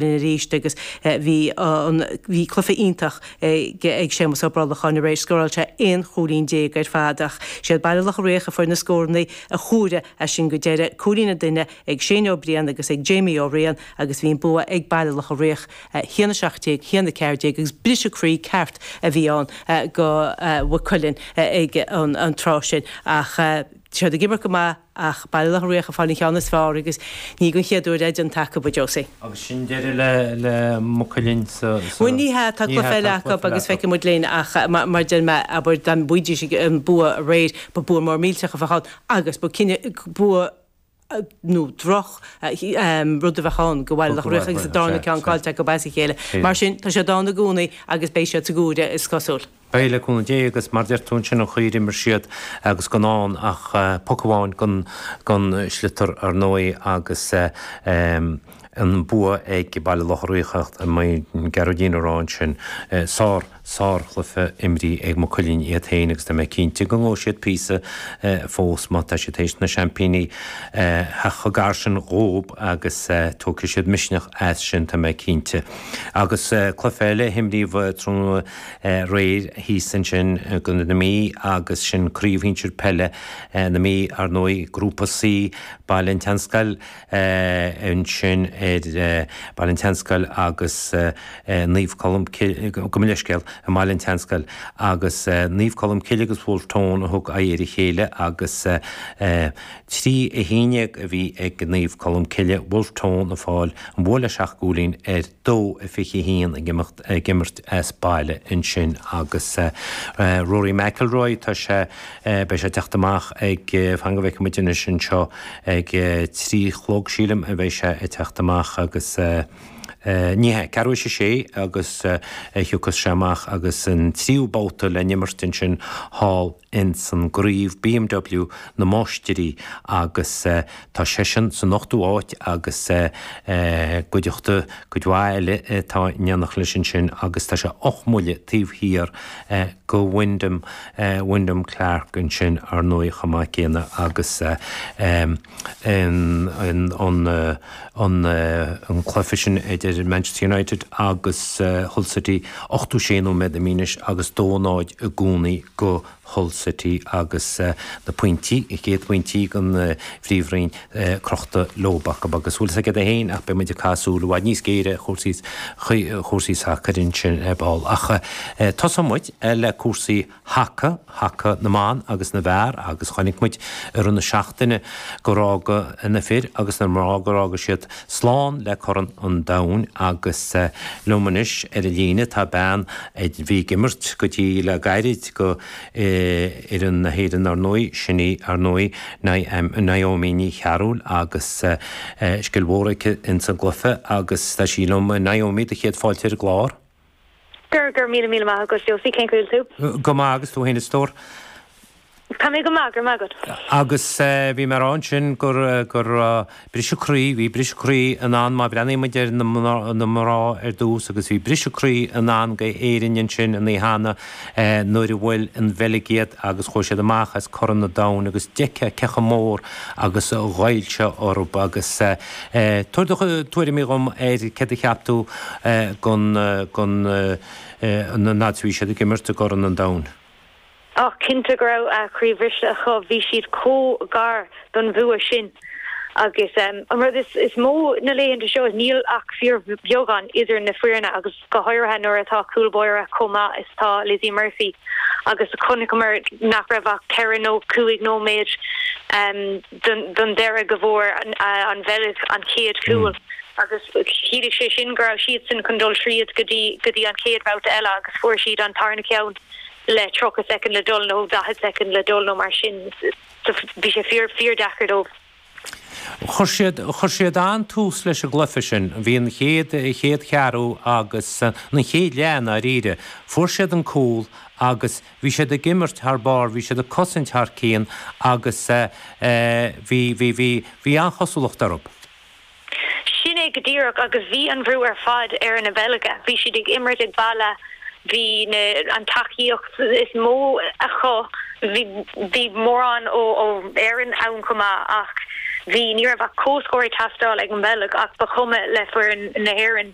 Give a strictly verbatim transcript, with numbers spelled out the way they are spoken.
arís agus bhí an bhí cluiche iontach ag Séamus Ó Brolacháin aréir scóráil sé aon chúilín déag ar fad ach siad Baile Locha Riach a fuair na scóranna a chuaigh as sin go deireadh cúilín an duine ag Shane Ó Briain agus ag Jamie Ó Riain agus bhí an bua ag Baile Locha Riach haon a seacht déag haon a ceathair déag agus briseadh croí ceart a bhí ann go Maigh Cuilinn ag an an tráth sin ach siad ag imirt go maith ach Baile Locha Riach a fáil an ceann is fearr agus ní don chéad uair é déanta acu a Josie. Agus sin deireadh le le Maigh Cuilinn sa Bhuel ní hea tá cluiche eile acu agus feicfidh muid linn ach mar deir mé abair dá mbuafaidís an bua aréir ba bua mór millteach a bheadh ann agus ba cinne bua nó droch rud a bheadh ann go Baile Locha Riach agus a darna ceann caillte acu as a chéile. Mar sin tá siad ann i gcónaí agus beidh siad sa gcomhaireamh is cosúil. Beidh le cúnamh Dé agus mar deir tú ansin an chaoi ar imir siad agus gan ann ach poc amháin gan gan sliotar ar ndóigh agus an bua ag Baile Locha Riach ach Gearóidín a rá ansin sár sárchluiche imrithe ag Maigh Cuilinn iad féin agus tá mé cinnte go ngabhfaidh siad píosa fós má tá siad théis na seaimpíní theacht chomh gar sin dhóib agus tógfaidh siad misneach as sin tá mé cinnte. Agus cluiche eile a himríodh tráthnóna aréir thíos ansin go na Mí agus sin craobh shinsir peile na Mí ar ndóigh grúpa C Baile an tSeanscoil ansin ar Baile an tSeanscoil agus Naomh Colm gabh mo leithscéal i mBaile an tSeanscoil agus Naomh Colm Cille agus Wolfe Tone a thug aghaidh ar a chéile agus trí a haon déag a bhí ag Naomh Colm Cille Wolfe Tone ag fáil an bua le seacht gcúilín ar dó a fiche haon ag imeacht ag imirt as baile ansin agus Rory McIlroy tá sé beidh sé teacht amach ag fan go bhfeicfidh muid anois anseo ag trí chlog sílim a bheidh sé ag teacht amach agus ní hea ceathrú théis a sé agus thiocfas sé amach agus an tríú babhta le n-imirt ansin thall ins an gcraobh BMW na Máistirí agus tá seisean san ochtú háit agus cuideachta cuid mhaith eile atá in éineacht leis ansin agus tá sé ocht mbuille taobh thiar go Wyndham Wyndham Clark ansin ar ndóigh chomh maith céanna agus an an an an cluiche sin idir Manchester United agus Hull City ochtó sé nóiméad imithe agus dó náid i gcónaí go Hull City agus na pointí a chéad phointí den phríomhroinn crochta leo acu agus bhfuil a fhios agat ach beidh muid ag caitheamh súil i bhfad níos géire chúrsaí chúrsaí sacair ansin ar ball ach tosóidh muid le cúrsaí haca haca na mban agus na bhfear agus chonaic muid i rith na seachtaine gur fhág na fir agus na mná gur fhág siad slán le Corn an Domhain agus liom anois ar an líne tá bean a bhí ag imirt go dtí le gairid go fhoireann na hÉireann ar ndóigh sin í ar ndóigh Naomi Ní Chearúil agus scil mhór aici ins an gcluiche agus tá sí liom Naomi do chéad fáilte ar an gclár. Gur gur míle míle maith agat Josie cén chaoi a bhfuil tú? Go maith agus tú féin a stór. Tá mé go maith gur maith agat. Agus bhí mé ag rá sin gur gur briseadh croí, bhí briseadh croí in ann má bhreathnaíonn muid ar na mná ar dtús agus bhí briseadh croí in ann go Éirinn ansin an oíche cheana nuair a bhuail an Bheilg iad agus chuaigh siad amach as Corn an Domhain agus d'fheicfeá cé chomh mór agus a ghoill sé orthu agus tabhair do tuairimí dhom ar céard a cheap tú gon gon na fhad is a bhí siad ag imirt i gCorn an Domhain. Ach cinnte go raibh a croí briste acu bhí siad chomh gar don bhua sin agus um, an rud is, is mó na laethanta seo níl ach fíorbheagán idir na foirne agus go háirithe nuair atá cúl báire chomh maith is tá Lizzie Murphy agus chonaiceamar nach raibh ach ceithre nó cúig nóiméad um, don, don deireadh go bhfuair an, an Bheilg an chéad chúl. Mm. agus chiallaigh sé sin go raibh siad sin chun dul tríd go dtí go dtí an chéad bhabhta eile agus fuair siad an tarna ceann le tríocha soicind le dul nó daichead soicind le dul nó mar sin bhí sé fíor fíordheacair dóibh. Chuir siad chuir siad an-tús leis an gcluiche sin, bhí an chéad chéad cheathrú agus an chéad leath dáiríre. Fuair siad an cúl agus bhí siad ag imirt thar barr, bhí siad ag cosaint thar cionn agus bhí bhí bhí bhí an-chosúlacht orthu. Sin é go díreach agus bhí an brú ar fad ar na Beilge. Bhí siad ag imirt ag baile bhí an tacaíocht is mó acu bhí mórán ó ó Éirinn ann chomh maith ach Bhí ní raibh ach comhscór ag teastáil ag an mBeilg ach ba chuma le foireann na hÉireann